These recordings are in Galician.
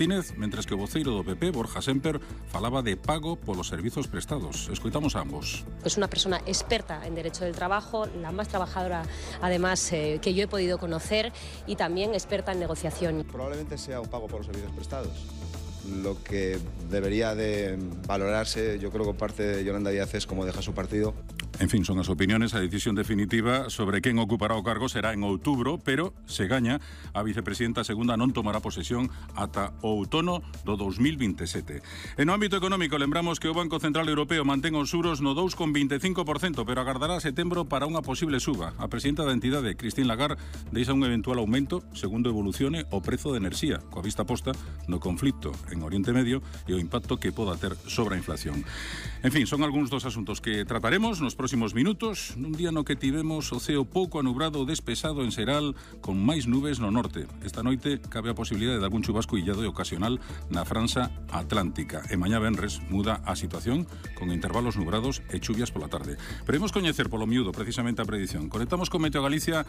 Mentres que o voceiro do PP, Borja Semper, falaba de pago polos servizos prestados. Escoitamos a ambos. Es una persona experta en derecho del trabajo, la más trabajadora además que yo he podido conocer, y también experta en negociación. Probablemente sea un pago por los servicios prestados. Lo que debería de valorarse, yo creo que parte de Yolanda Díaz, es cómo deja su partido. En fin, son as opiniones. A decisión definitiva sobre quen ocupará o cargo será en outubro, pero se gaña, a vicepresidenta segunda non tomará posesión ata o outono do 2027. En o ámbito económico, lembramos que o Banco Central Europeo mantén os juros no 2,25%, pero agardará a setembro para unha posible suba. A presidenta da entidade, Christine Lagarde, deixa un eventual aumento segundo evolucione o prezo de enerxía, coa vista posta no conflito en Oriente Medio e o impacto que poda ter sobre a inflación. En fin, son algúns dos asuntos que trataremos nos próximos minutos, nun día no que tivemos o ceo pouco anubrado ou despexado en xeral, con máis nubes no norte. Esta noite cabe a posibilidade de algún chubasco illado e ocasional na franxa atlántica. E mañá venres muda a situación con intervalos nubrados e chuvias pola tarde. Pero imos coñecer polo miúdo precisamente a predición. Conectamos con Meteo Galicia.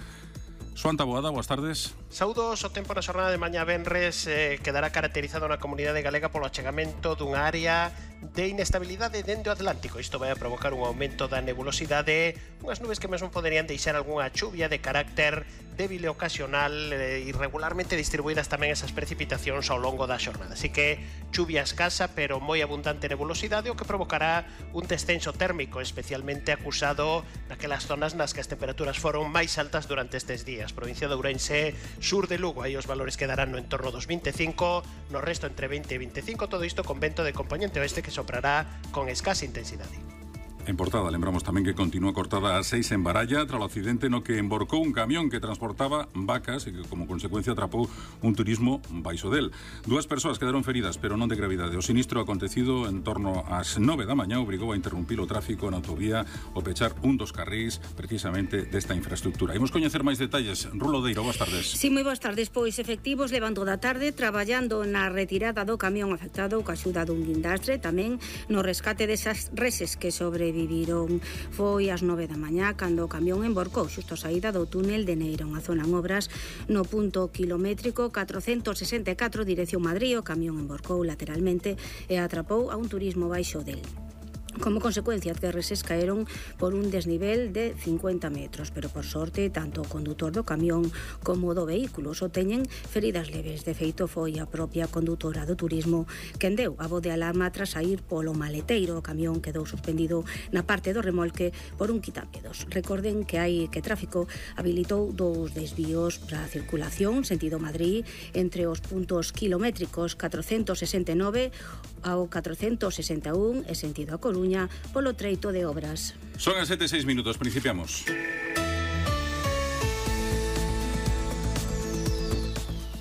Xoan Taboada, boas tardes. Saúdos, o tempo na xornada de mañá venres quedará caracterizado na comunidade galega polo achegamento dunha área de inestabilidade dende o Atlántico. Isto vai a provocar un aumento da nebulosidade, unhas nubes que mesmo poderían deixar algunha chuvia de carácter débil e ocasional, irregularmente distribuídas tamén esas precipitacións ao longo da xornada. Así que chuvia escasa, pero moi abundante nebulosidade, o que provocará un descenso térmico especialmente acusado naquelas zonas nas que as temperaturas foron máis altas durante estes días. Provincia de Ourense, sur de Lugo, aí os valores quedarán no entorno dos 25, no resto entre 20 e 25, todo isto con vento de componente oeste que soprará con escasa intensidade. En Portada, lembramos tamén que continúa cortada a 6 en Baralla tras o accidente no que emborcou un camión que transportaba vacas e que como consecuencia atrapou un turismo baixo del. 2 persoas quedaron feridas, pero non de gravidade. O sinistro acontecido en torno ás 9 da mañá obrigou a interrumpir o tráfico na autovía o pechar un dos carrís precisamente desta infraestructura. Imos coñecer máis detalles. Rulo Deiro, boas tardes. Sí, moi boas tardes. Pois efectivos levando da tarde traballando na retirada do camión afectado coa axuda dun guindastre, tamén no rescate desas reses que sobreviviron. Foi ás 9 da mañá cando o camión emborcou xusto a saída do túnel de Neira, unha zona en obras no punto kilométrico 464 dirección Madrid. O camión emborcou lateralmente e atrapou a un turismo baixo del. Como consecuencia, as reses caeron por un desnivel de 50 metros, pero por sorte, tanto o condutor do camión como do vehículo só teñen feridas leves. De feito, foi a propia condutora do turismo quen deu a voz de alarma tras sair polo maleteiro. O camión quedou suspendido na parte do remolque por un quitamedos. Recorden que tráfico habilitou 2 desvíos para a circulación sentido Madrid entre os puntos kilométricos 469 ao 461 e sentido a Coruña polo treito de obras. Son as 7:06 minutos, principiamos.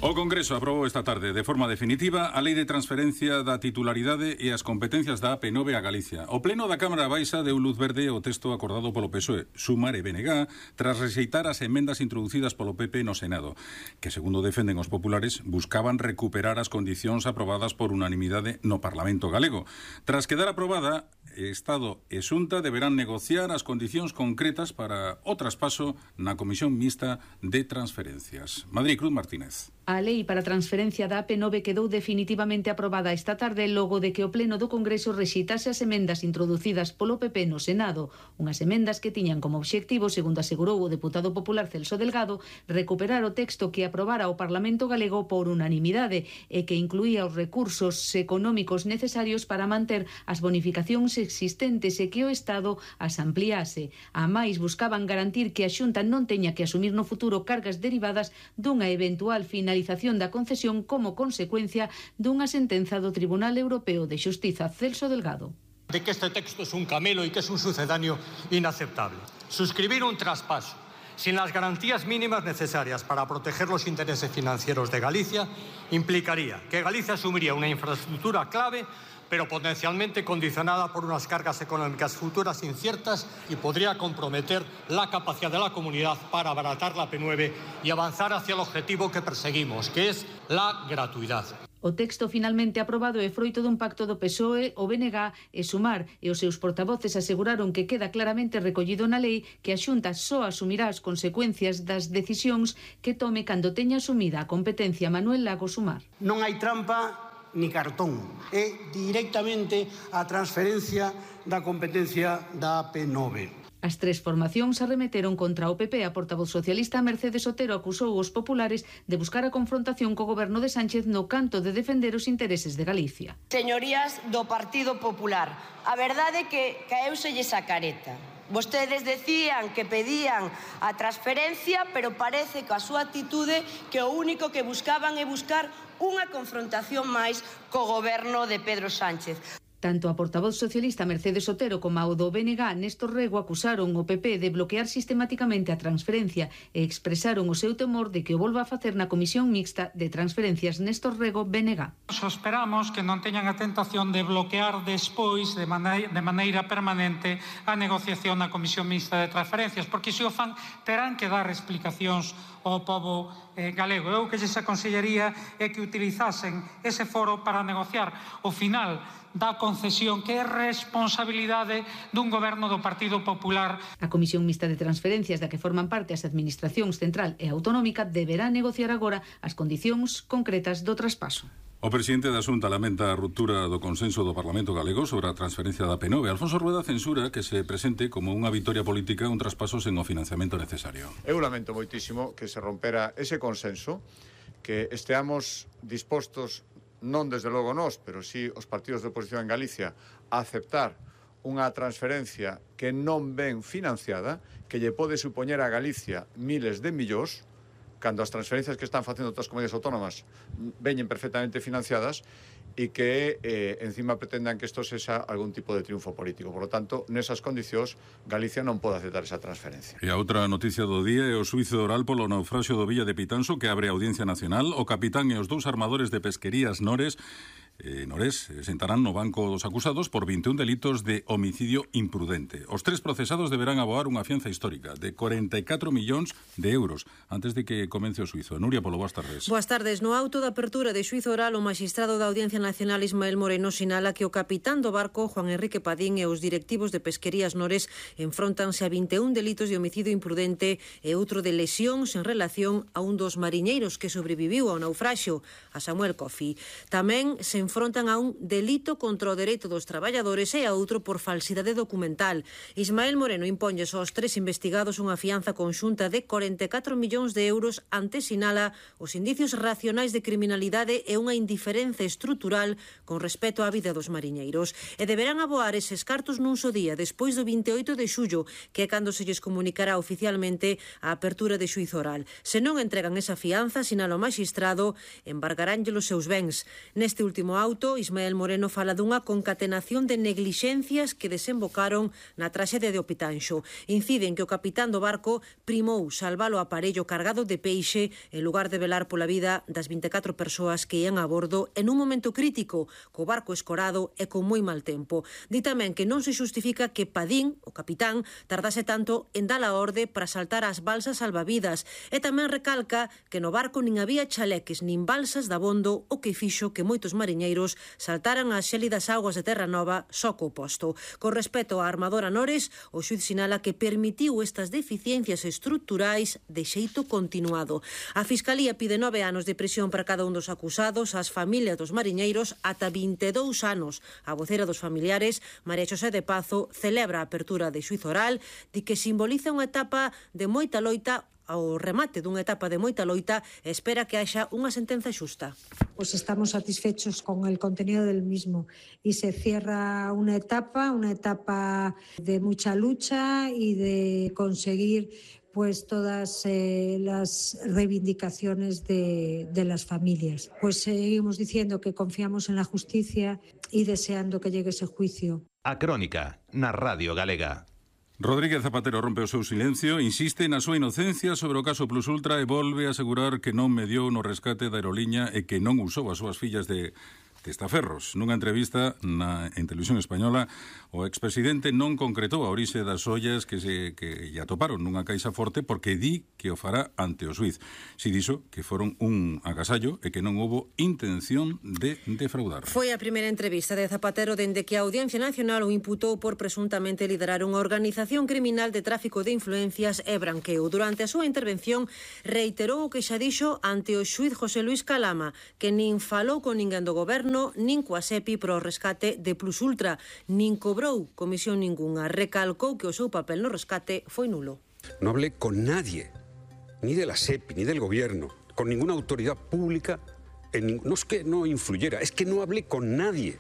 O Congreso aprobou esta tarde de forma definitiva a Lei de Transferencia da Titularidade e as competencias da AP9 a Galicia. O Pleno da Cámara Baixa deu luz verde ao texto acordado polo PSOE, Sumar e BNG, tras rexeitar as emendas introducidas polo PP no Senado, que, segundo defenden os populares, buscaban recuperar as condicións aprobadas por unanimidade no Parlamento galego. Tras quedar aprobada, Estado e Xunta deberán negociar as condicións concretas para o traspaso na Comisión Mixta de Transferencias. Madrid, Cruz Martínez. A lei para a transferencia da AP9 quedou definitivamente aprobada esta tarde logo de que o Pleno do Congreso rexeitase as emendas introducidas polo PP no Senado, unhas emendas que tiñan como obxectivo, segundo asegurou o deputado popular Celso Delgado, recuperar o texto que aprobara o Parlamento galego por unanimidade e que incluía os recursos económicos necesarios para manter as bonificacións existentes e que o Estado as ampliase. A máis, buscaban garantir que a Xunta non teña que asumir no futuro cargas derivadas dunha eventual finalización da concesión como consecuencia dunha sentenza do Tribunal Europeo de Xustiza. Celso Delgado. De que este texto es un camelo y que es un sucedáneo inaceptable. Suscribir un traspaso sin las garantías mínimas necesarias para proteger los intereses financieros de Galicia implicaría que Galicia asumiría una infraestructura clave pero potencialmente condicionada por unas cargas económicas futuras inciertas y podría comprometer la capacidad de la comunidad para abaratar la AP9 y avanzar hacia el objetivo que perseguimos, que es la gratuidad. O texto finalmente aprobado é froito dun pacto do PSOE, o BNG e Sumar, e os seus portavoces aseguraron que queda claramente recollido na lei que a Xunta só asumirá as consecuencias das decisións que tome cando teña asumida a competencia. Manuel Lago, Sumar. Non hai trampa ni cartón, é directamente a transferencia da competencia da AP9. As tres formacións arremeteron contra o PP. A portavoz socialista Mercedes Otero acusou os populares de buscar a confrontación co goberno de Sánchez no canto de defender os intereses de Galicia. Señorías do Partido Popular, a verdade é que caeuselles a careta. Vostedes decían que pedían a transferencia, pero parece que a súa actitude que o único que buscaban é buscar unha confrontación máis co goberno de Pedro Sánchez. Tanto a portavoz socialista Mercedes Otero como ao do BNG Néstor Rego acusaron o PP de bloquear sistemáticamente a transferencia e expresaron o seu temor de que o volva a facer na Comisión Mixta de Transferencias. Néstor Rego, BNG. Esperamos que non teñan a tentación de bloquear despois de maneira permanente a negociación na Comisión Mixta de Transferencias, porque se o fan terán que dar explicacións ao pobo galego. Eu que lles aconsellaría é que utilizasen ese foro para negociar o final da concesión que é responsabilidade dun goberno do Partido Popular. A Comisión Mixta de Transferencias da que forman parte as administracións central e autonómica deberá negociar agora as condicións concretas do traspaso. O presidente da Xunta lamenta a ruptura do consenso do Parlamento galego sobre a transferencia da AP9. Alfonso Rueda censura que se presente como unha vitoria política un traspaso sen o financiamento necesario. Eu lamento moitísimo que se rompera ese consenso, que esteamos dispostos, non desde logo nós, pero sí os partidos de oposición en Galicia, a aceptar unha transferencia que non ven financiada, que lle pode supoñer a Galicia miles de millóns, cando as transferencias que están facendo outras comunidades autónomas veñen perfectamente financiadas, e que encima pretendan que isto sexa algún tipo de triunfo político. Por lo tanto, nesas condicións, Galicia non pode aceptar esa transferencia. E a outra noticia do día é o xuízo oral polo naufraxio do Villa de Pitanso, que abre a Audiencia Nacional. O capitán e os dous armadores de pesquerías Nores sentarán no banco dos acusados por 21 delitos de homicidio imprudente. Os tres procesados deberán aboar unha fianza histórica de 44 millóns de euros antes de que comence o xuízo. Nuria Polo, boas tardes. Boas tardes. No auto de apertura de xuízo oral, o magistrado da Audiencia Nacional Ismael Moreno sinala que o capitán do barco, Juan Enrique Padín, e os directivos de Pesquerías Nores enfróntanse a 21 delitos de homicidio imprudente e outro de lesións en relación a un dos mariñeiros que sobreviviu ao naufraxio, a Samuel Coffey. Tamén se enfrontan a un delito contra o dereito dos traballadores e a outro por falsidade documental. Ismael Moreno imponlles aos tres investigados unha fianza conxunta de 44 millóns de euros ante, sinala, os indicios racionais de criminalidade e unha indiferenza estrutural con respecto á vida dos mariñeiros. E deberán aboar eses cartos nun só día, despois do 28 de xullo, que é cando se lles comunicará oficialmente a apertura de xuízo oral. Se non entregan esa fianza, sinala o magistrado, embargaránlle os seus bens. Neste último auto, Ismael Moreno fala dunha concatenación de neglixencias que desembocaron na traxedia de Opitanxo. Inciden que o capitán do barco primou salvar o aparello cargado de peixe en lugar de velar pola vida das 24 persoas que ian a bordo en un momento crítico, co barco escorado e con moi mal tempo. Di tamén que non se xustifica que Padín, o capitán, tardase tanto en dar a orde para saltar as balsas salvavidas, e tamén recalca que no barco nin había chaleques nin balsas de abondo, o que fixo que moitos mariñeiros saltaran as xélidas augas de Terranova só co posto. Con respecto á armadora Nores, o xuíz sinala que permitiu estas deficiencias estruturais de xeito continuado. A Fiscalía pide 9 anos de prisión para cada un dos acusados, as familias dos mariñeiros ata 22 anos. A vocera dos familiares, María Xosé de Pazo, celebra a apertura de xuízo oral, di que simboliza unha etapa de moita loita, ao remate dunha etapa de moita loita, e espera que haxa unha sentenza xusta. Pues estamos satisfechos con el contenido del mismo y se cierra una etapa de mucha lucha y de conseguir pues todas las reivindicaciones de las familias. Pues seguimos diciendo que confiamos en la justicia y deseando que llegue ese juicio. A Crónica, na Radio Galega. Rodríguez Zapatero rompe o seu silencio, insiste na súa inocencia sobre o caso Plus Ultra e volve a asegurar que non mediou no rescate da aeroliña e que non usou as súas fillas de testaferros. Nunha entrevista en Televisión Española, o expresidente non concretou a orixe das ollas que lle atoparon nunha caixa forte porque di que o fará ante o xuiz. Si dixo que foron un agasallo e que non houbo intención de defraudar. Foi a primeira entrevista de Zapatero dende que a Audiencia Nacional o imputou por presuntamente liderar unha organización criminal de tráfico de influencias e branqueo. Durante a súa intervención reiterou o que xa dixo ante o xuiz José Luis Calama, que nin falou con ninguén do goberno, nin coa SEPI pro rescate de Plus Ultra, nin cobrou comisión ningunha. Recalcou que o seu papel no rescate foi nulo. No hablé con nadie, ni de la SEPI, ni del gobierno, con ninguna autoridad pública. No es que no influyera, es que no hablé con nadie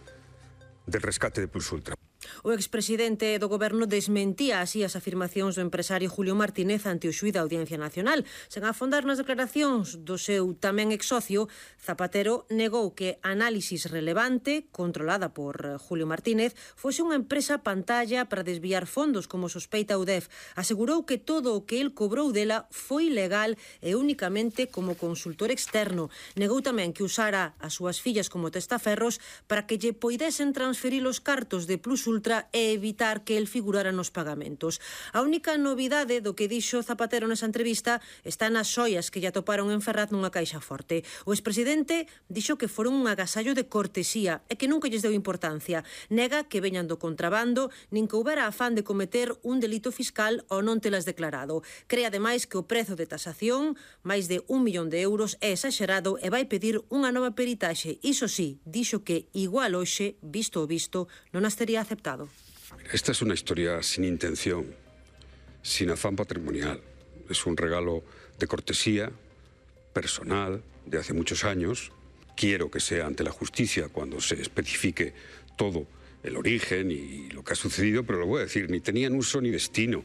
del rescate de Plus Ultra. O expresidente do goberno desmentía así as afirmacións do empresario Julio Martínez ante o xuíz da Audiencia Nacional. Sen afondar nas declaracións do seu tamén exsocio, Zapatero negou que Análisis Relevante, controlada por Julio Martínez, fose unha empresa pantalla para desviar fondos, como sospeita o UDEF. Asegurou que todo o que el cobrou dela foi legal e únicamente como consultor externo. Negou tamén que usara as súas fillas como testaferros para que lle poidesen transferir os cartos de Plus Ultra e evitar que el figurara nos pagamentos. A única novidade do que dixo Zapatero nesa entrevista está nas xoias que lle atoparon en Ferraz nunha caixa forte. O expresidente dixo que foron un agasallo de cortesía e que nunca lles deu importancia. Nega que veñan do contrabando, nin que houbera afán de cometer un delito fiscal ou non telas declarado. Cree ademais que o prezo de tasación, máis de 1 millón de euros, é exagerado e vai pedir unha nova peritaxe. Iso sí, dixo que igual hoxe, visto o visto, non as tería aceptado. Esta es una historia sin intención, sin afán patrimonial. Es un regalo de cortesía, personal, de hace muchos años. Quiero que sea ante la justicia cuando se especifique todo el origen y lo que ha sucedido, pero lo voy a decir, ni tenían uso ni destino.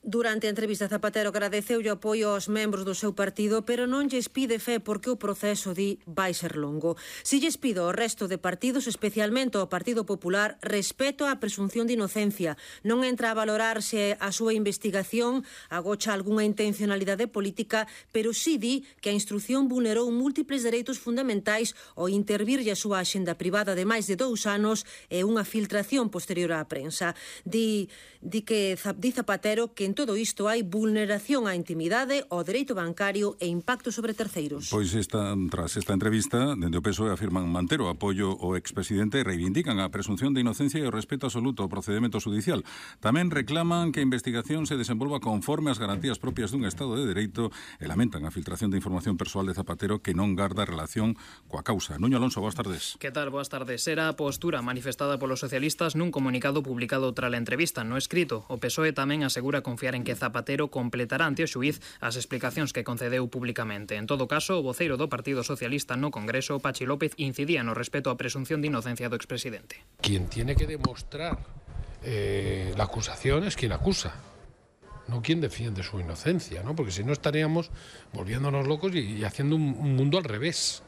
Durante a entrevista, Zapatero agradeceu o apoio aos membros do seu partido, pero non lles pide fe porque o proceso, di, vai ser longo. Si lles pido ao resto de partidos, especialmente ao Partido Popular, respeto á presunción de inocencia. Non entra a valorar se a súa investigación agocha algunha intencionalidade política, pero si di que a instrucción vulnerou múltiples dereitos fundamentais ao intervirlle a súa axenda privada de máis de 2 anos e unha filtración posterior á prensa. Di Zapatero que en todo isto hai vulneración á intimidade, ao dereito bancario e impacto sobre terceiros. Pois tras esta entrevista, dende o PSOE afirman manter o apoio ao expresidente e reivindican a presunción de inocencia e o respeto absoluto ao procedimento judicial. Tamén reclaman que a investigación se desenvolva conforme ás garantías propias dun Estado de Dereito e lamentan a filtración de información persoal de Zapatero que non garda relación coa causa. Nuño Alonso, boas tardes. Que tal? Boas tardes. Era a postura manifestada polos socialistas nun comunicado publicado tras a entrevista no escrito. O PSOE tamén asegura confiar en que Zapatero completará ante o xuíz as explicacións que concedeu públicamente. En todo caso, o voceiro do Partido Socialista no Congreso, Pachi López, incidía no respeto á presunción de inocencia do expresidente. Quien tiene que demostrar la acusación es quien acusa, no quien defiende su inocencia, ¿no? Porque si no estaríamos volviéndonos locos y haciendo un mundo al revés.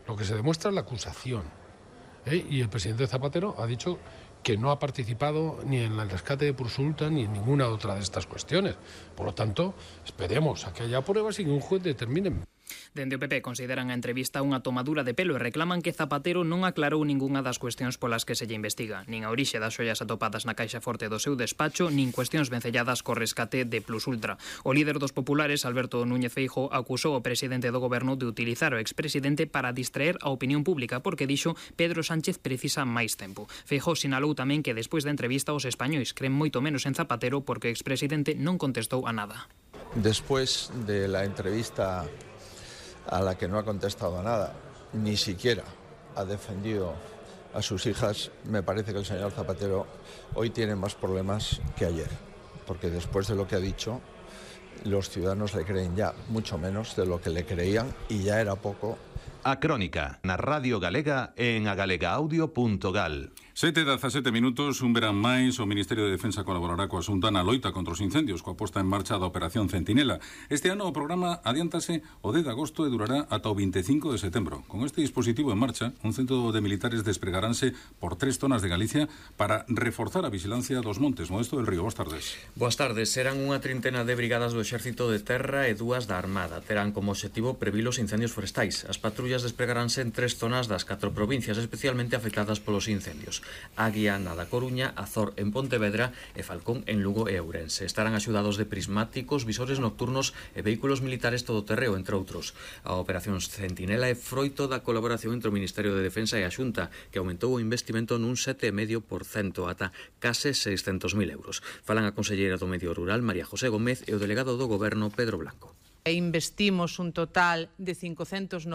Lo que se demuestra es la acusación. Y el presidente Zapatero ha dicho que no ha participado ni en el rescate de Plus Ultra ni en ninguna otra de estas cuestiones. Por lo tanto, esperemos a que haya pruebas y que un juez determine. Dende o PP consideran a entrevista unha tomadura de pelo e reclaman que Zapatero non aclarou ningunha das cuestións polas que se lle investiga, nin a orixe das xoias atopadas na caixa forte do seu despacho, nin cuestións vencelladas co rescate de Plus Ultra. O líder dos populares, Alberto Núñez Feijóo, acusou o presidente do goberno de utilizar o expresidente para distraer a opinión pública porque dixo Pedro Sánchez precisa máis tempo. Feijóo sinalou tamén que despois da entrevista os españois creen moito menos en Zapatero porque o expresidente non contestou a nada. Después de la entrevista a la que no ha contestado a nada, ni siquiera ha defendido a sus hijas, me parece que el señor Zapatero hoy tiene más problemas que ayer, porque después de lo que ha dicho, los ciudadanos le creen ya mucho menos de lo que le creían y ya era poco. A Crónica, na Radio Galega e en agalegaaudio.gal. 7:17 minutos, un verán máis, o Ministerio de Defensa colaborará coa Xunta na loita contra os incendios, coa posta en marcha da Operación Centinela. Este ano o programa adiántase o 10 de agosto e durará ata o 25 de setembro. Con este dispositivo en marcha, un centro de militares despregaránse por 3 zonas de Galicia para reforzar a vigilancia dos montes. Modesto del Río, boas tardes. Boas tardes. Serán unha trintena de brigadas do Exército de Terra e 2 da Armada. Terán como obxectivo previr os incendios forestais. As patrullas patrullas despregaránse en 3 zonas das 4 provincias especialmente afectadas polos incendios: Águia na da Coruña, Azor en Pontevedra e Falcón en Lugo e Ourense. Estarán axudados de prismáticos, visores nocturnos e vehículos militares todoterreo, entre outros. A operación Centinela é froito da colaboración entre o Ministerio de Defensa e a Xunta, que aumentou o investimento nun 7,5% ata case 600.000 euros. Falan a conselleira do Medio Rural, María José Gómez, e o delegado do Goberno, Pedro Blanco. Investimos un total de 594.000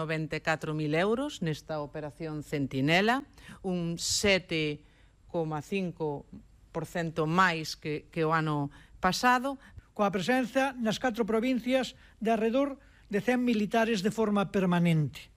euros nesta operación Centinela, un 7,5% máis que o ano pasado, coa presenza nas 4 provincias de arredor de 100 militares de forma permanente.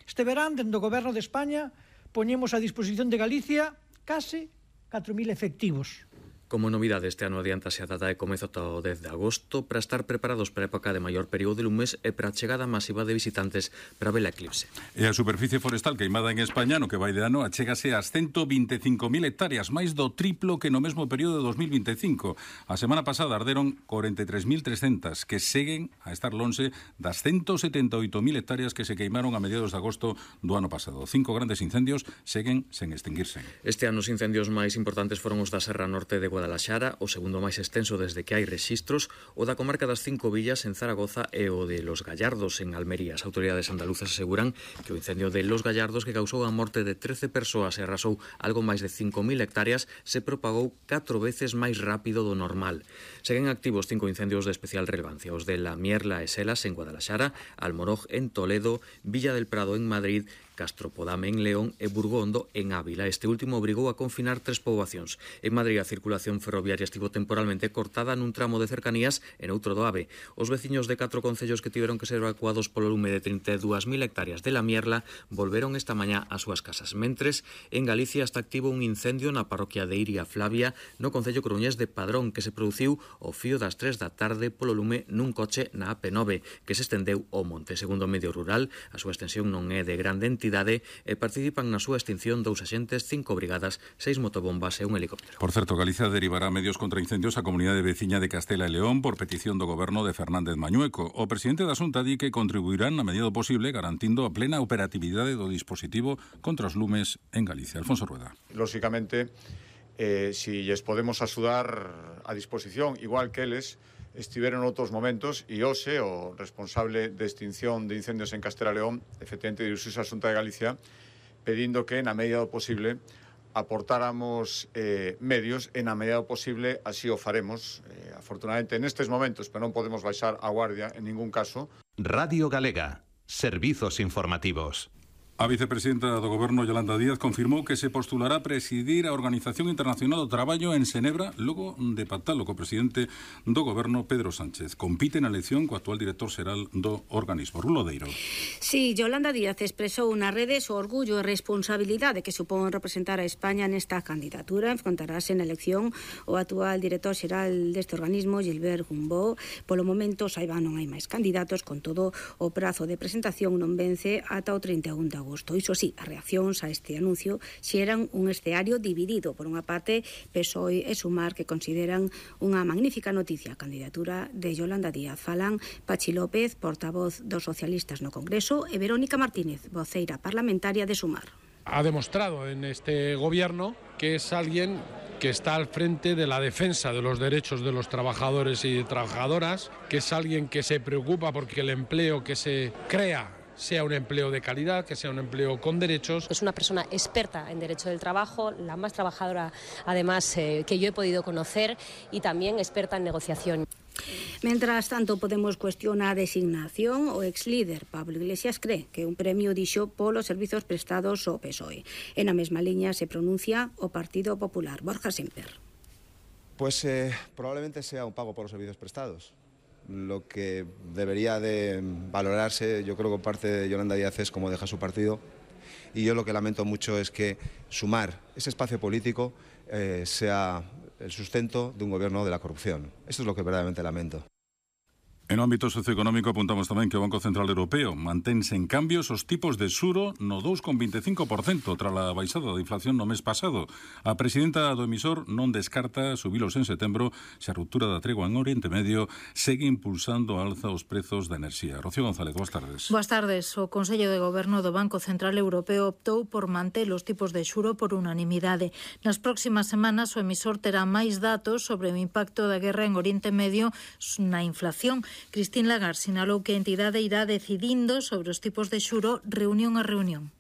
Este verán, dende o Goberno de España, poñemos a disposición de Galicia case 4.000 efectivos. Como novidade, este ano adiántase a data de comezo ata o 10 de agosto para estar preparados para a época de maior período de lumes e para a chegada masiva de visitantes para ver a eclipse. E a superficie forestal queimada en España no que vai de ano achégase ás 125.000 hectáreas, máis do triplo que no mesmo período de 2025. A semana pasada arderon 43.300, que seguen a estar lonxe das 178.000 hectáreas que se queimaron a mediados de agosto do ano pasado. 5 grandes incendios seguen sen extinguirse. Este ano os incendios máis importantes foron os da Serra Norte de Guadalaxara, o segundo máis extenso desde que hai rexistros, o da comarca das 5 Villas en Zaragoza e o de Los Gallardos en Almería. As autoridades andaluzas aseguran que o incendio de Los Gallardos, que causou a morte de 13 persoas e arrasou algo máis de 5.000 hectáreas, se propagou 4 veces máis rápido do normal. Seguen activos 5 incendios de especial relevancia, os de La Mierla e Selas en Guadalaxara, Almoroj en Toledo, Villa del Prado en Madrid, Castropodame en León e Burgondo en Ávila. Este último obrigou a confinar 3 poboacións. En Madrid a circulación ferroviaria estivo temporalmente cortada nun tramo de cercanías e noutro do AVE. Os veciños de 4 concellos que tiveron que ser evacuados polo lume de 32.000 hectáreas de La Mierla volveron esta mañá ás súas casas. Mentres, en Galicia está activo un incendio na parroquia de Iria Flavia, no concello coruñés de Padrón, que se produciu ao fío das 3 da tarde polo lume nun coche na AP9, que se estendeu ao monte. Segundo o Medio Rural, a súa extensión non é de grande entidade e participan na súa extinción 2 axentes, 5 brigadas, 6 motobombas e un helicóptero. Por certo, Galicia derivará medios contra incendios á comunidade veciña de Castela e León por petición do goberno de Fernández Mañueco. O presidente da Xunta di que contribuirán na medida do posible garantindo a plena operatividade do dispositivo contra os lumes en Galicia. Alfonso Rueda. Lóxicamente, si lles podemos axudar a disposición, igual que eles estiveron outros momentos, e hoxe o responsable de extinción de incendios en Castela e León efectivamente dirixiuse á Xunta de Galicia pedindo que na medida do posible aportáramos medios e na medida do posible así o faremos. Afortunadamente nestes momentos, pero non podemos baixar a guardia en ningún caso. Radio Galega, servizos informativos. A vicepresidenta do Goberno, Yolanda Díaz, confirmou que se postulará a presidir a Organización Internacional do Traballo en Xenebra logo de pactalo co presidente do Goberno, Pedro Sánchez. Compite na elección co actual director xeral do organismo, Rulo Deiro. Sí, Yolanda Díaz expresou nas redes o orgullo e responsabilidade que supón representar a España nesta candidatura. Enfrontarase na elección o actual director xeral deste organismo, Gilbert Gumbó. Polo momento, saiba, non hai máis candidatos, con todo o prazo de presentación non vence ata o 31 de agosto. Iso sí, as reaccións a este anuncio xeran un escenario dividido. Por unha parte, PSOE e Sumar, que consideran unha magnífica noticia a candidatura de Yolanda Díaz. Falan Pachi López, portavoz dos socialistas no Congreso, e Verónica Martínez, voceira parlamentaria de Sumar. Ha demostrado en este gobierno que es alguien que está al frente de la defensa de los derechos de los trabajadores y trabajadoras, que es alguien que se preocupa porque el empleo que se crea sea un empleo de calidad, que sea un empleo con derechos. Es una persona experta en derecho del trabajo, la más trabajadora además que yo he podido conocer, y también experta en negociación. Mientras tanto, podemos cuestionar a designación. O ex-líder Pablo Iglesias cree que un premio dixo polos servizos prestados ao PSOE. En a mesma liña se pronuncia o Partido Popular. Borja Semper. Pues probablemente sea un pago por los servicios prestados. Lo que debería de valorarse, yo creo que por parte de Yolanda Díaz, es cómo deja su partido, y yo lo que lamento mucho es que Sumar, ese espacio político, sea el sustento de un gobierno de la corrupción. Esto es lo que verdaderamente lamento. En o ámbito socioeconómico apuntamos tamén que o Banco Central Europeo mantense en cambios os tipos de xuro no 2,25% tras a baixada da inflación no mes pasado. A presidenta do emisor non descarta subilos en setembro se a ruptura da tregua en Oriente Medio segue impulsando a alza os prezos da enerxía. Rocío González, boas tardes. Boas tardes. O Consello de Goberno do Banco Central Europeo optou por manter os tipos de xuro por unanimidade. Nas próximas semanas o emisor terá máis datos sobre o impacto da guerra en Oriente Medio na inflación. Christine Lagarde sinalou que a entidade irá decidindo sobre os tipos de xuro reunión a reunión.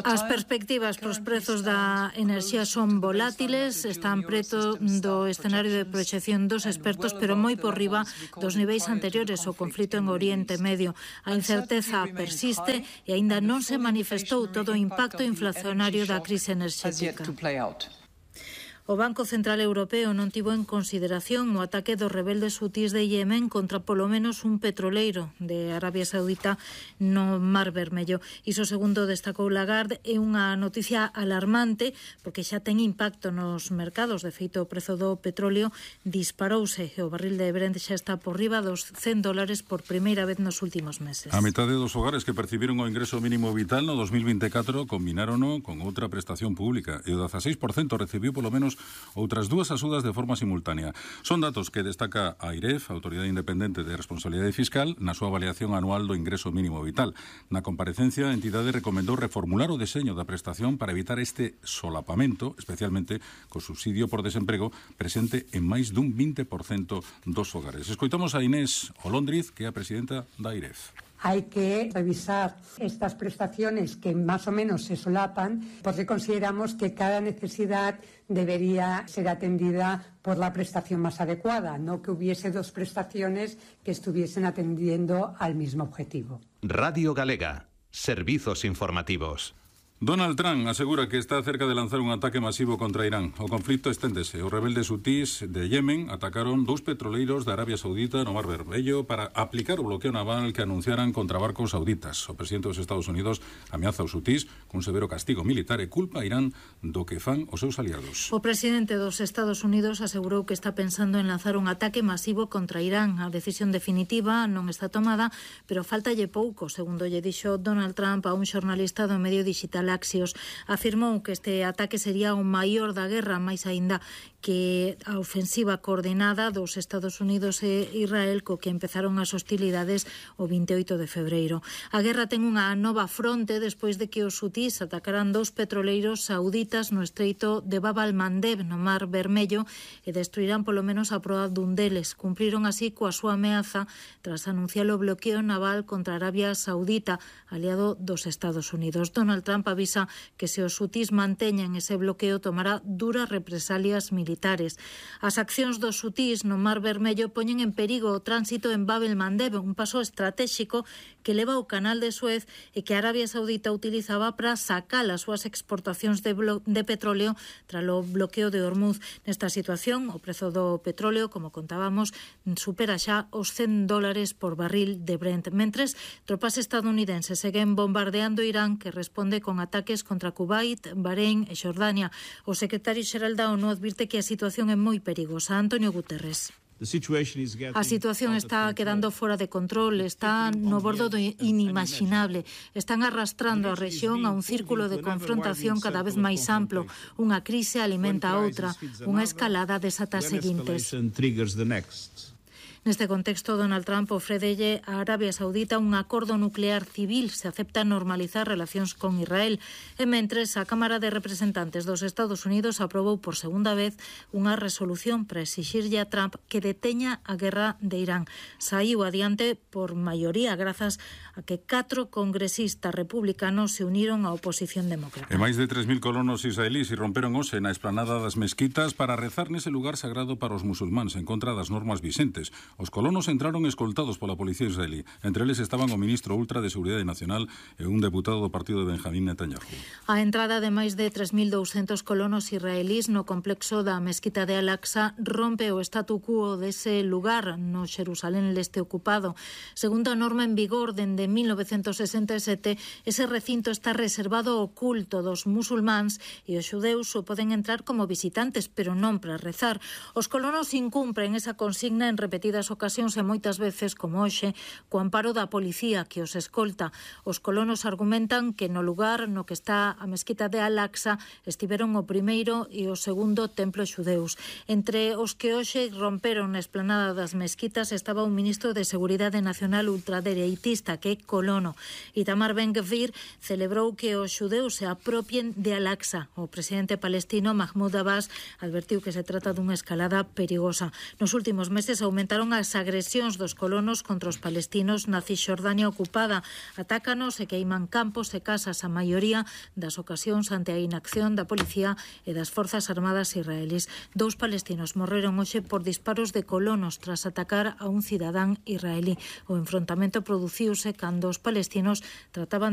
As perspectivas para os prezos da enerxía son volátiles, están preto do escenario de proxección dos expertos, pero moi por riba dos niveis anteriores ao conflito en Oriente Medio. A incerteza persiste e aínda non se manifestou todo o impacto inflacionario da crise enerxética. O Banco Central Europeo non tivo en consideración o ataque dos rebeldes hutís de Yemen contra polo menos un petroleiro de Arabia Saudita no Mar Vermello. Iso, segundo destacou Lagarde, é unha noticia alarmante porque xa ten impacto nos mercados. De feito, o prezo do petróleo disparouse e o barril de Brent xa está por riba dos $100 por primeira vez nos últimos meses. A metade dos hogares que percibiron o ingreso mínimo vital no 2024 combinárono con outra prestación pública e o 16% recibiu polo menos outras dúas axudas de forma simultánea. Son datos que destaca a AIREF, a Autoridade Independente de Responsabilidade Fiscal, na súa avaliación anual do ingreso mínimo vital. Na comparecencia, a entidade recomendou reformular o deseño da prestación para evitar este solapamento, especialmente co subsidio por desemprego presente en máis dun 20% dos hogares. Escoitamos a Inés Olóndriz, que é a presidenta da AIREF. Hay que revisar estas prestaciones que más o menos se solapan porque consideramos que cada necesidad debería ser atendida por la prestación más adecuada, no que hubiese dos prestaciones que estuviesen atendiendo al mismo objetivo. Radio Galega, servizos informativos. Donald Trump asegura que está cerca de lanzar un ataque masivo contra Irán. O conflito esténdese. Os rebeldes hutís de Yemen atacaron 2 petroleiros de Arabia Saudita no Mar Vermello para aplicar o bloqueo naval que anunciaran contra barcos sauditas. O presidente dos Estados Unidos ameaza aos hutís cun severo castigo militar e culpa a Irán do que fan os seus aliados. O presidente dos Estados Unidos asegurou que está pensando en lanzar un ataque masivo contra Irán. A decisión definitiva non está tomada, pero faltalle pouco, segundo lle dixo Donald Trump a un xornalista do medio digital Axios. Afirmou que este ataque sería o maior da guerra, máis aínda que a ofensiva coordinada dos Estados Unidos e Israel co que empezaron as hostilidades o 28 de febreiro. A guerra ten unha nova fronte despois de que os hutís atacaran 2 petroleiros sauditas no estreito de Bab al-Mandeb no Mar Vermello e destruirán polo menos a proa dun deles. Cumpriron así coa súa ameaza tras anunciar o bloqueo naval contra Arabia Saudita, aliado dos Estados Unidos. Donald Trump avisa que se os hutís manteñan ese bloqueo tomará duras represalias militares. As accións dos hutís no Mar Vermello poñen en perigo o tránsito en Bab el-Mandeb, un paso estratéxico que leva ao canal de Suez e que Arabia Saudita utilizaba para sacar as súas exportacións de petróleo tras o bloqueo de Hormuz. Nesta situación, o prezo do petróleo, como contábamos, supera xa os $100 por barril de Brent. Mentres, tropas estadounidenses seguen bombardeando Irán, que responde con ataques contra Kuwait, Bahrein e Xordania. O secretario xeral da ONU advirte que a situación é moi perigosa. Antonio Guterres. A situación está quedando fora de control, está no bordo do inimaginable. Están arrastrando a rexión a un círculo de confrontación cada vez máis amplo. Unha crise alimenta a outra, unha escalada desata as seguintes. Neste contexto, Donald Trump ofrédelle a Arabia Saudita un acordo nuclear civil se acepta normalizar relacións con Israel. E mentres, a Cámara de Representantes dos Estados Unidos aprobou por segunda vez unha resolución para exixirlle a Trump que deteña a guerra de Irán. Saiu adiante por maioría grazas a que 4 congresistas republicanos se uniron á oposición demócrata. E máis de 3.000 colonos israelís irromperon hoxe na esplanada das mezquitas para rezar nese lugar sagrado para os musulmáns en contra das normas vixentes. Os colonos entraron escoltados pola policía israelí. Entre eles estaban o ministro ultra de Seguridade Nacional e un deputado do partido de Benjamín Netanyahu. A entrada de máis de 3.200 colonos israelís no complexo da Mesquita de Al-Aqsa rompe o statu quo dese lugar no Xerusalén leste ocupado. Segundo a norma en vigor dende 1967, ese recinto está reservado ao culto dos musulmáns e os xudeus só poden entrar como visitantes, pero non para rezar. Os colonos incumpren esa consigna en repetidas ocasións e moitas veces, como hoxe, co amparo da policía que os escolta. Os colonos argumentan que no lugar no que está a Mesquita de Al-Aqsa estiveron o primeiro e o segundo templo xudeus. Entre os que hoxe romperon na esplanada das mesquitas estaba un ministro de Seguridade Nacional ultradereitista que é colono. Itamar Ben-Gvir celebrou que os xudeus se apropien de Al-Aqsa. O presidente palestino Mahmoud Abbas advertiu que se trata dunha escalada perigosa. Nos últimos meses aumentaron as agresións dos colonos contra os palestinos na Cisxordania ocupada. Atácanos e queiman campos e casas, a maioría das ocasións ante a inacción da policía e das forzas armadas israelís. 2 palestinos morreron hoxe por disparos de colonos tras atacar a un cidadán israelí. O enfrontamento produciuse cando os palestinos trataban